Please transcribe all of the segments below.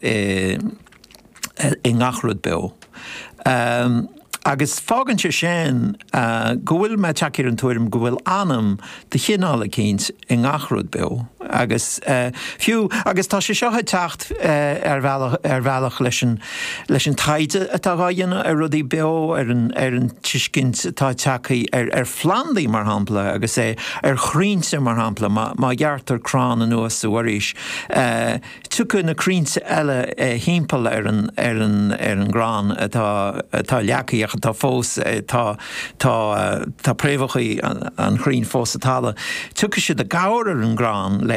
i ngach rud beo. Agus fágann sé sin go bhfuil mé tagtha ar an tuairim go bhfuil anam de chineál eicínt i ngach rud beo. Agus fiú, agus tá sé seo ag teacht ar bhealach, ar bhealach leis an, leis an taighde atá dhá dhéanamh ar rudaí beo, ar an, ar an tuiscint atá tagtha ar, ar phlandaí mar shampla agus é ar chrainnte mar shampla, má, má ghearrtar crann anuas sa bhforaois, Tiocfaidh na crainnte eile thimpeall ar an ar an ar an gcrann atá atá leagtha ach atá fós tá tá tá préamhacha an chrainn fós sa talamh. Tiocfaidh siad i gcabhair ar an gcrann le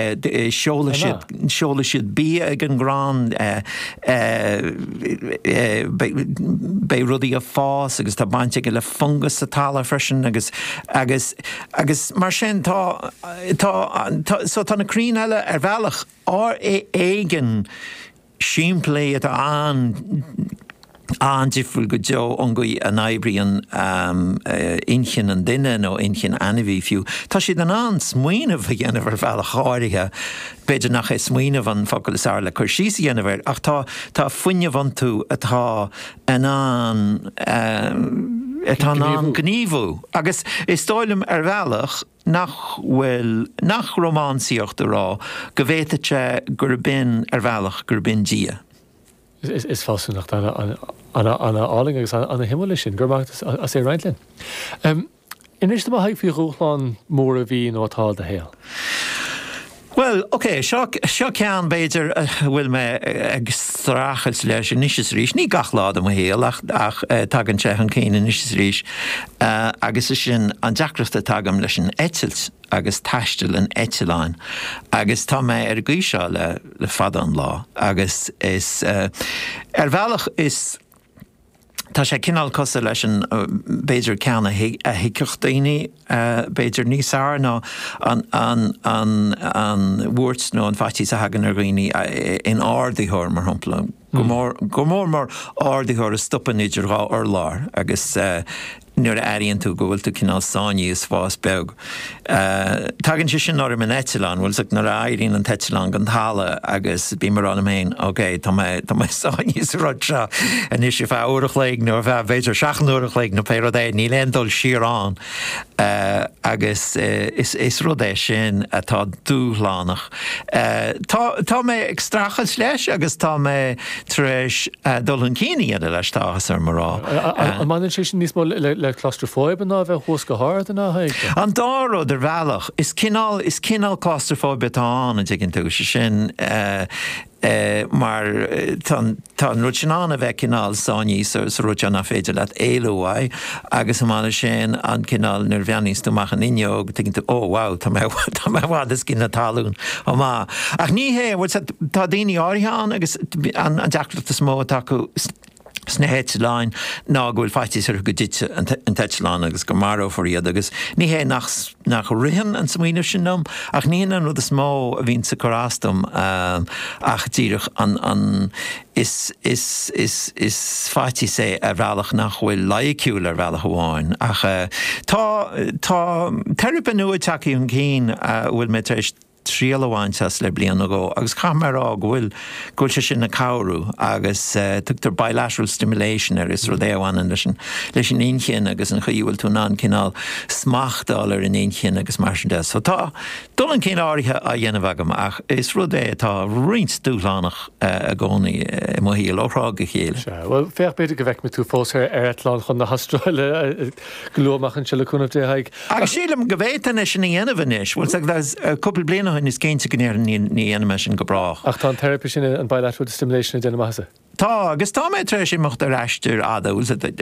seolfaidh siad seolfaidh siad bia ag an gcrann beidh beidh rudaí ag fás agus tá baint aige le fungas sa talamh freisin agus agus agus mar sin tá tá tá so tá na crainn eile ar bhealach éigin simplí atá an-difriúil go deo ón gcaoi a n-oibríonn inchinn an duine nó inchinn ainmhí fiú. Tá siad in ann smaoineamh a dhéanamh ar bhealach áirithe, b'fhéidir nach é smaoineamh an focal is fearr le cur síos a dhéanamh air, ach tá tá fuinneamh iontu atá in ann atá in ann gníomhú. Agus is dóigh liom ar bhealach, nach bhfuil, nach rómánsaíocht a rá go bhféadfadh sé gurb in, ar bhealach, gurb in Dia. Is fealsúnacht an-álainn agus an-shuimiúil é sin. Go raibh maith agat as é a roinnt linn. Inis dom a Thaidhg faoi dhúshlán mór a bhí nó atá i do shaol. Bhuel, ok, seo, seo ceann, b'fhéidir, a bhfuil mé ag streachailt leis anois is arís, ní gach lá de mo shaol ach, ach tagann sé chun cinn anois is arís, agus is sin an deacracht atá agam leis an eitilt agus taisteal in eitleáin. Agus tá mé ar an gcaoi seo le, le fada an lá agus is, ar bhealach is, Tá sé cineál cosúil leis an, b'fhéidir ceann a thuigfeadh daoine b'fhéidir níos fearr ná an, an, an, an bhuairt nó an faitíos a thagann ar dhaoine in ardaitheoir, mar shampla. Go mór, go mór mór ardaitheoir a stopann idir dhá urlár agus nuair a airíonn tú go bhfuil tú cineál sáinnithe i spás beag. Tagann sé sin orm in eitleán, bhfuil 's agat, nuair a éiríonn an t-eitleán den talamh agus bím ag rá liom féin, ok, tá mé, tá mé sáinnithe sa rud seo anois ar feadh uair a chloig nó ar feadh b'fhéidir seacht n-uair a chloig nó pé rud é, níl aon dul siar ann. Agus is, is rud é sin atá dúshlánach. Tá, tá mé ag streachailt leis agus tá mé tar éis dul chun cinn a dhéanamh leis, tá áthas orm a rá. An mbaineann sé sin níos mó le claustrafóibe ná a bheith thuas go hard, an ea, a Thaidhg? An dá rud, ar bhealach. Is cineál, is cineál claustrafóibe atá ann, an dtuigeann tú, sé sin, mar tá an, tá an rud sin ann a bheith cineál sáinnithe sa, sa rud seo nach féidir leat éalú uaidh agus chomh maith leis sin an cineál nuair a bhreathnaíonns tú amach an fhuinneog tuigeann tú, oh wow, tá mé, tá mé i bhfad os cionn na talún chomh maith. Ach ní hé, bhfuil 's agat, Tá daoine áirithe ann agus an deacracht is mó atá acu sna heitleáin ná go bhfuil faitíos orthu go dtitfidh an t-eitleán agus go marófar iad agus ní hé nach nach ritheann an smaoineamh sin liom ach ní hin an rud is mó a bhíonns ag cur as dom ach díreach an an is is is is faitíos é ar bhealach nach bhfuil loighciúil ar bhealach amháin ach tá tá teiripe nua tagtha chun cinn a bhfuil mé tar éis triail a bhaint as le bliain nó dhó agus caithfidh mé a rá go bhfuil, go bhfuil sé sin ag cabhrú agus tugtar bilateral stimulation air, is rud é a bhaineann leis an, leis an inchinn agus an chaoi a bhfuil tú in ann cineál smacht a fháil ar an inchinn agus mar sin de. So tá dul chun cinn áirithe á dhéanamh agam ach is rud é atá roinnt dúshlánach i gcónaí i mo shaol ó thráth go chéile. Sea, bhuel féach b'fhéidir go bhfeicfimid tú fós ar eitleán chun na hAstráile go luath amach anseo le cúnamh Dé, a Thaidhg. Agus sílim go bhféadfainn é sin a dhéanamh anois. Bhuel, cúpla bliain ó shin is cinnte go ndéarfainn ní dhéanfaidh mé sin go brách. Ach tá an teiripe sin, an bilateral stimulation, ag déanamh maitheasa. Tá, agus tá mé tar éis imeacht ar aistir fhada, bhfuil 's agat,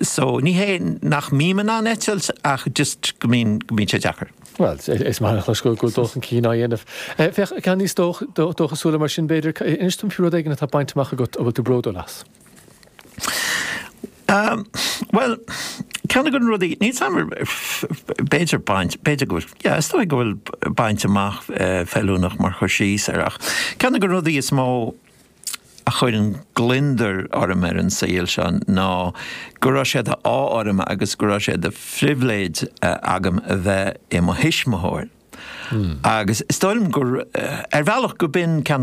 so ní hé nach mbím in ann eitilt ach just go mbíonn, go mbíonn sé deacair. Bhuel, is maith a chlos go bhfuil dul chun cinn á dhéanamh. Féach, ceann níos dóchasúla mar sin, b'fhéidir, inis dom faoi rud éigin atá bainte amach agat a bhfuil tú bródúil as. Bhuel, ceann de na rudaí, níl 's agam, b'fhéidir baint, b'fhéidir go bhfuil, yeah, is dóigh go bhfuil baint amach feiliúnach mar chur síos air ach ceann de na rudaí is mó a chuireann gliondar orm ar an saol seo ná go raibh sé d'ádh orm agus go raibh sé de phribhléid agam a bheith i mo thuismitheoir. Agus is dóigh liom gur, ar bhealach, go b'in ceann de.